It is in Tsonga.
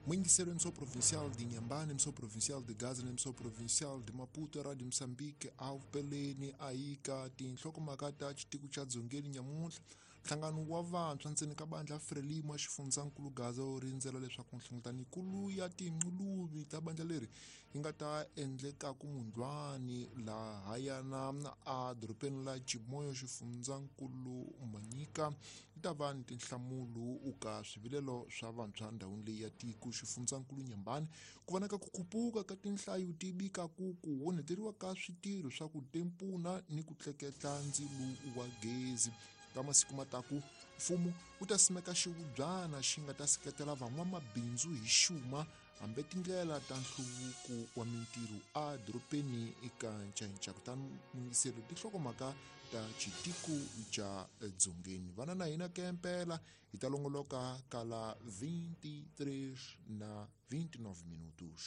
Muingiselo emissão provincial de Inhambane, emissão provincial de Gaza, emissão provincial de Maputo, Rádio Moçambique, Alpelene, Aika, tinhlokomhaka ta xitiko xa Dzongeni nyamuntlha. Nhlangano wa vantshwa ntsena ka bandla Frelimo xifundzankulu Gaza wu rindzela leswaku nhlengeletano ya tinquluvi ta bandla leri yi nga ta endleka kumundlwani lahayana a dorobeni la Chimoio xifundzankulu Manyika yi ta va ni tinhlamulo ka swivilelo swa vantshwa ndhawini leyi ya tiko xifundzankulu Nyambani ku vonaka ku khupuka ka tinhlayo ti vika ku ku onheteriwa ka switirho swa ku tempuna ni ku tleketla ndzilo wa gezi ka masiku mataku mfumo wu ta simeka xivubyana xi nga ta seketela van'wamabindzu hi xuma hambi tindlela ta nhluvuko wa mintirho a dorobeni eka ncainca kutani muyingiseri tinhlokomhaka ta xitiko xa dzongeni vana na hina kempela hi ta longoloka ka la 23 na 29 minutos.